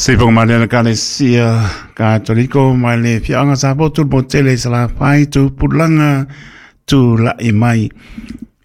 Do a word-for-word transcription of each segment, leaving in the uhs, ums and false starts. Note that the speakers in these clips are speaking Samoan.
Sifonga Mariana Kalesia Katoliko mai le fiaga sa potu mo tele Salafai tu pulanga tu lai mai.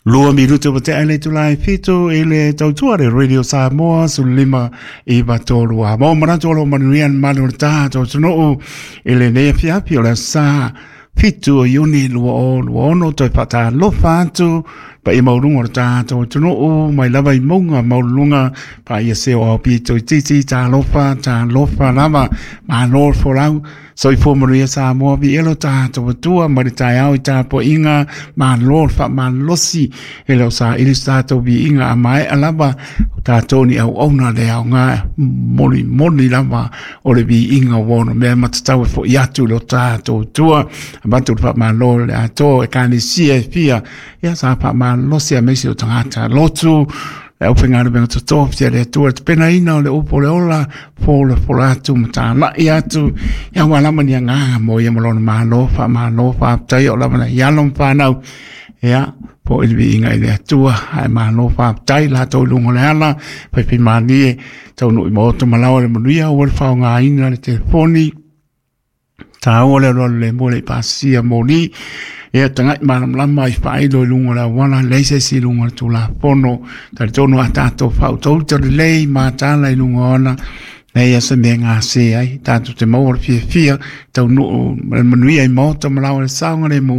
Lua minutu o te aile tu lai fitu i le tautua le Radio Samoa su lima i batolu a. Mo manatu o lo manuia manu le tātou tunuu i le nea fiafi o le sa fitu o Iuni lua o lua ono toi whatalofa atu pa i maurunga o le tātou tunuu mai lava i maunga maulunga pa ia se o au pito i titi tālofa tālofa lava malo folau soifua manuia Samoa vi elo tātou atua mai le taeao i tapuaiga malo le faamalosi e le o saili so tatou viiga a maea lava o tatou ni auauna le aoga molimoli lava o le viiga ua ono mea matatau e fo'i atu i lo tatou atua avatu le faamalo le atoa ekalesia e fia ia sa faamalosi aemaise o tagata lotu le aufaigaluega totofi a le Atua le tapenaina o le upu o le ola folafola atu ma tāla'i atu ia ua lava ni agaga mo ia ma lona malo faamalo faafetai o lava nai alo ma fanau ia po i le viiga i le Atua ae malo faafetai latou i luga o le ala faifaimalie taunuu i maoto ma laoa le manuia ua le faaaogaina le telefoni tāua le alualu le mua le i pasia moli ia tagai malamalama i faailo i luga o le auala leai se isi i luga o le tulafono talitonu a tatou faautauta lelei matala i luga o ona leai a se mea gase ai tatou te maua le fiafia taunuu ma le manuia i maota ma laoa le saogalemu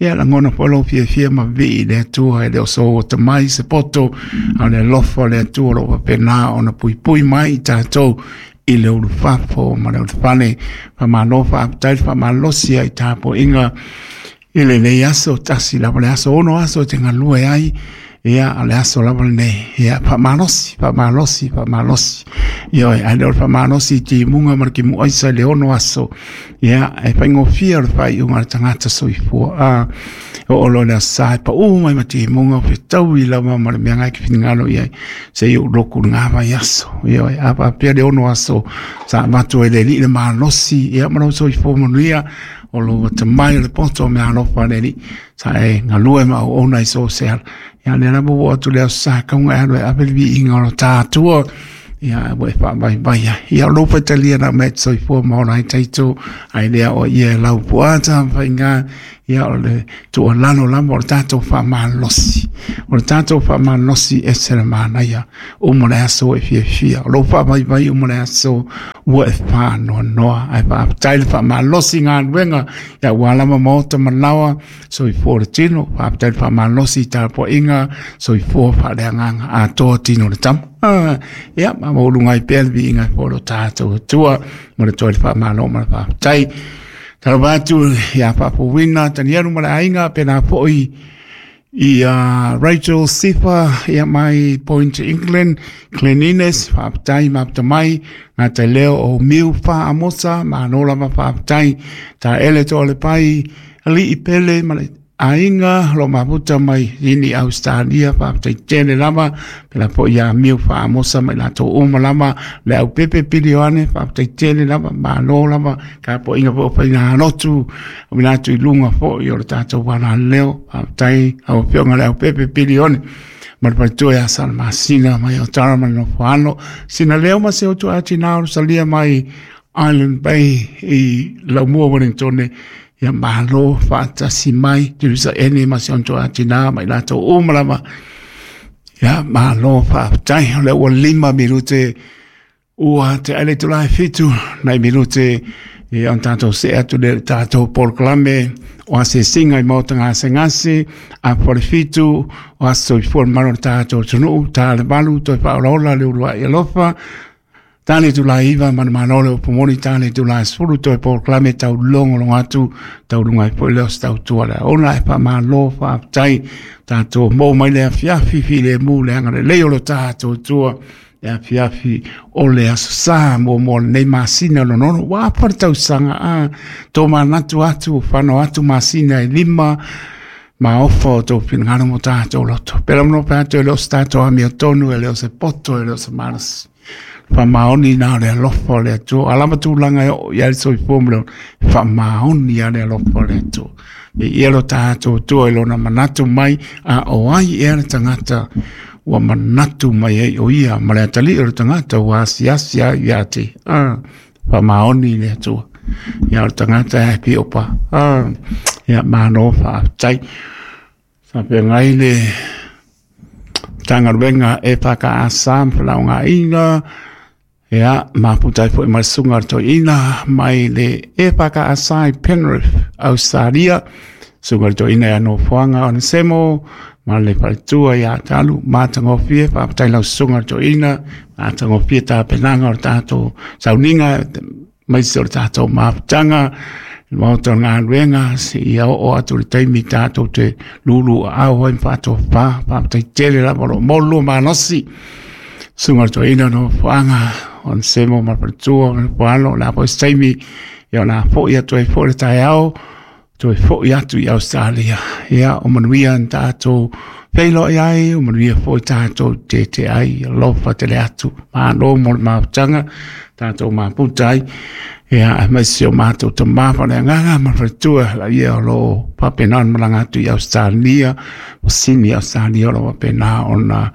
ia lagona foi lou fiafia ma vivii i le Atua e le o sou atamai se poto a o le alofa o le Atua o loo faapena ona puipui mai i tatou i le ulufafo ma le ulufale faamalo faafetai le faamalosi ai tapuaiga i lenei aso tasi lava le aso ono aso e te galue ai ia o le aso lava lenei ia faamalosi faamalosi faamalosi ia ae le o le faamalosi i timuga ma le timuaisa i le ono aso ia e faigofie o le faaiuga a le tagata soifua a oo loa i le aso sa e paū mai ma timuga o fetaui lava ma le mea gai ke finagalo i ai seia ou loku i lena vaiaso ioe a faapea le ono aso sa avatu ai le Alii le malosi ia ma lou soifua manuia o lou atamai o le poto o mea alofa a le Alii sa e galue ma auauna i so o se ala ia lea lava ua oo atu le aso sa kauga e alu e ave le viiga o lo ta Atua ia ua e faavaivai ai ia o lou faitalia na mea e te soifua ma ola ai taito ai lea o ia e lau puata ma faiga ia o le tuualalo lava o le tatou faamalosi o le tatou faamalosi e se le manaia uma le aso e fiafia o lou faavaivai uma le aso ua e faanoanoa ae faafetai le faamalosi i galuega ia ua lava maota ma laoa soifua le tino faafetai le faamalosi i tapuaiga soifua faaleagaga atoa tino le tama. Ah, ia ma mauluga ai pea le viiga e fo lo tatou Atua ma le toe le faamalo ma le faafetai. Talofa atu ia Faafuina Tanielu ma le aiga pena foi i uh, Rachel Sifa ia mai Point England Cleanliness faafetai mafuta mai ngā te leo o Miu Faamosa malo lava faafetai ta ele to le pai ali'i pele ma le aiga lo mafuta mai ini Australia faafetai tele lava pela foi ia Miu Faamosa mai latou uma lava le au pepe pili o ane faafetai tele lava malo lava tapuaiga foi o faigalotu o mina atu i luga foi o le tatou alaleo faafetai lau afioga le au pepe pili o ane ma le faletua ia Salamasina mai o Tara ma le nofo alo sina leo ma se utu atinā o salia mai Island Bay i Laumua Wellington ia malo faatasi mai Teresa Ene ma si ona atinā mai latou uma lava ia malo faafetai o lea ua lima minute ua te aile itulā e fitu nai minute ia ona tatou see atu lea i le tatou polokalame o asiasiga i maota gasegase apo le fitu o aso soifua le mamalu o le tatou atunuu ta le valu toe faaolaola le uluai alofa ta le itulā iva ma le malo le upu moni ta le itulā sefulu toe polokalame taulogologo atu tauluga ai foi lea o se tautua le aoga e faamalo faafetai tatou maua mai le afiafi filemu le agalelei o lo tatou Atua le afiafi o le aso sa muamua o lenei masina lona ono ua afa le tausaga a tō manatu atu fano atu masina e lima ma ofa o tō finagalo mo tatou loto. Pera mo pe atu e le o se tatou amiotonu, e le o se poto, e le o se malosi. Faamaoni na o le alofa o le Atua. A lava tulaga e oo i ai le soifua ma le ola, faamaoni a le alofa o le Atua. E ia lo tatou Atua i lona manatu mai a o ai ea le tagata Ua manatu mai ai o ia ma le atalii o le tagata ua asiasi ai ia te ah faamaoni i le Atua. Ia o le tagata e piopa ah ia malo faafetai. Faafeagai le Matagaluega e F K S ma Felaugaina, ia mafuta ai foi ma le susuga i le toeaina mai le E F K S i Penrith, Australia, susuga i le toeaina ia Nofoaga Onesemo ma le faletua ia Talu. Matagofie, faafetai lau susuga i le toeaina, matagofie tapenaga o le tatou sauniga aemaise o le tatou mafutaga i le maota o le galuega seia oo atu i le taimi tatou te lulu aao ai ma faatofa. Faafetai tele lava o lo o maua malosi susuga i le toeaina Nofoaga Onesemo ma le faletua ma le poalo. O le a foi se taimi, ia o le a foi atu ai foi le taeao, toe foi atu i Australia. Ia o manuia na tatou feiloai ai, o manuia foi tatou tete ai, alofa tele atu. Malo mo le mafutaga tatou mafuta ai. Ia aemaise o matou tama faaleagaga ma le faletua la ia o lo o faapena ona malaga atu i Australia, o Sini Australia, o lo o faapena ona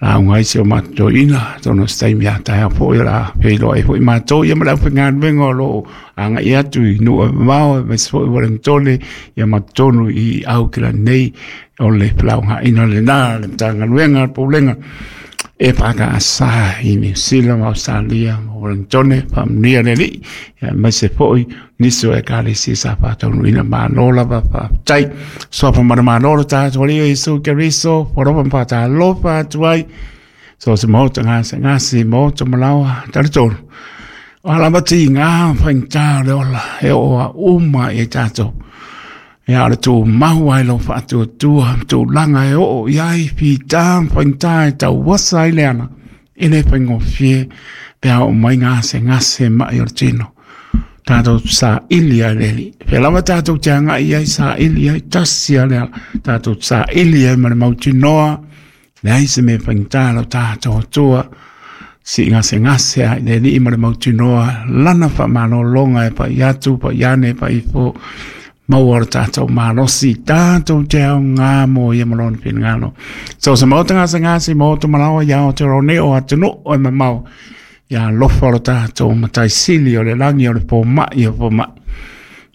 lauga ai si o matou toeaina. Atonu o se taimi a taeao foi o le a feiloai foi matou ia ma le aufaigaluega o lo o agai atu i nuu e mamao aemaise foi Ueligitone ia ma totonu i Aukilani nei. O le felaugaina lena le Matagaluega le Pulega e F K S i Niu Sila ma Australia ma Ueligitone. Faamanuia le Alii aemaise foi nisi o ekalesia sa faataunuuina. Malo lava, faafetai. Suafa ma le Malo lo tatou Alii o Iesu Keriso, alofa ma faatalofa atu ai so se maota gasegase maota malaoa talitonu o lava tiga faigata o le ola e oo a uma i tatou. Ia o le tumau ai lou faatuatua ma tulaga e oo i ai fita ma faigata e tauasa ai le ala e le faigofie pe a oo mai gasegase mai o le tino. Tatou saili ai le Alii. Pea lava tatou te agai ai saili ai tasi a le ala. Tatou saili ai ma le mautinoa leai se mea faigata lau tatou Atua. Si gasegase ai le Alii ma le mautinoa lana faamalologa e pai atu pai ane pai ifo maua o le tatou malosi tatou te aoga mo ia ma lona finagalo. So se maota gasegase maota malaoa ia Aotearoa nei o atunuu e mamao, ia alofa o le tatou Matai Sili o le lagi o le fomai o fomai.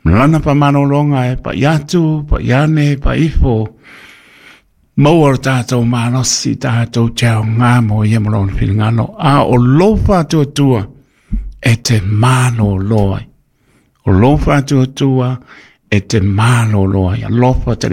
Lana faamalologa e pai atu, pai ane, pai ifo. Maua o le tatou malosi tatou te aoga mo ia ma lona finagalo. A o lou faatuatua e te malolo ai. O lou faatuatua e te malolo ai. Alofa tele.